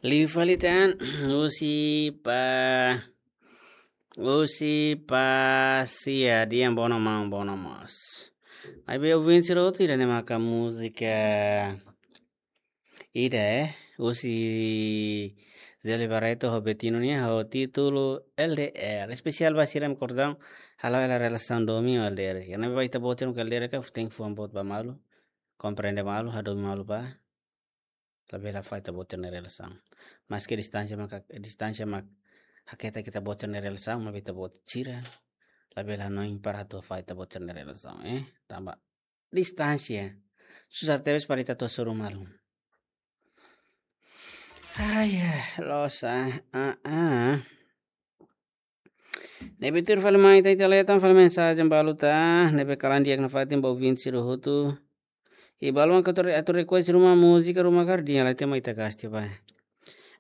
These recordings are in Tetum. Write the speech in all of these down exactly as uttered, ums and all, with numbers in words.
Liu fali tan, husi Pa, husi Pa Sia, dehan bono maun, bono mós. Maibé ouvinte sira hotu ida-ne'e maka múzika ida, eh, husi Zé Liberato ho Betinho nian ho títulu L D R. Espesiál ba sira-ne'ebé kordang, hala'o hela relasaun domin ho L D R. Karena ba ita-boot sira-ne'ebé L D R ka, tenke fuan boot ba malu, komprende malu, hadomi malu ba. Labele fó ita-boot sira-nia relasaun. Maske distánsia maka, distánsia mak haketa ita-boot sira-nia relasaun, maibé ita-boot sira labele hanoin para atu fó ita-boot sira-nia relasaun, eh. Tanba distánsia susar tebes para ita atu hasoru malu. Ai, eh, loos, ah, ah, ah. Ne'ebé tuir fali mai ita, ita leten fali mensajen balu tan, ne'ebé kalan di'ak nafatin ba ouvinte sira hotu. I balu mak atu re-, atu request ruma múzika, ruma kaer dehan lai, ita mai ita gasti ba.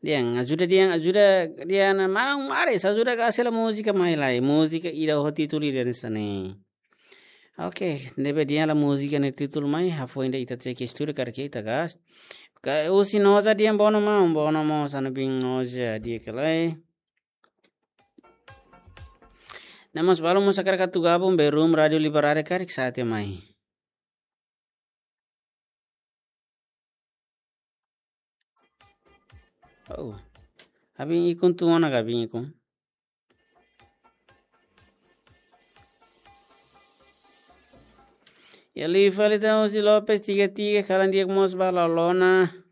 Dehan ajuda, dehan ajuda, dehan maun Maris, ajuda gasti hela múzika mai lai. Múzika ida ho títulu ida hanesan ne'e. Oke, ne'ebé dehan hela múzika nia títulu mai, hafoin ida ita cek estúdiu karik ita gasti. Ka husi Noza dehan bono maun, bono mós, Anubin Noza di'ak ka lae. Ne'e mós balu mós hakarak atu gabung ba room Rádiu Liberdade karik sa'e tiha mai. Oh. Abin ikun tu ona ka abin ikun. Iha liu fali tan husi Lopes tiga tiga, kalan di'ak mós ba Lolona.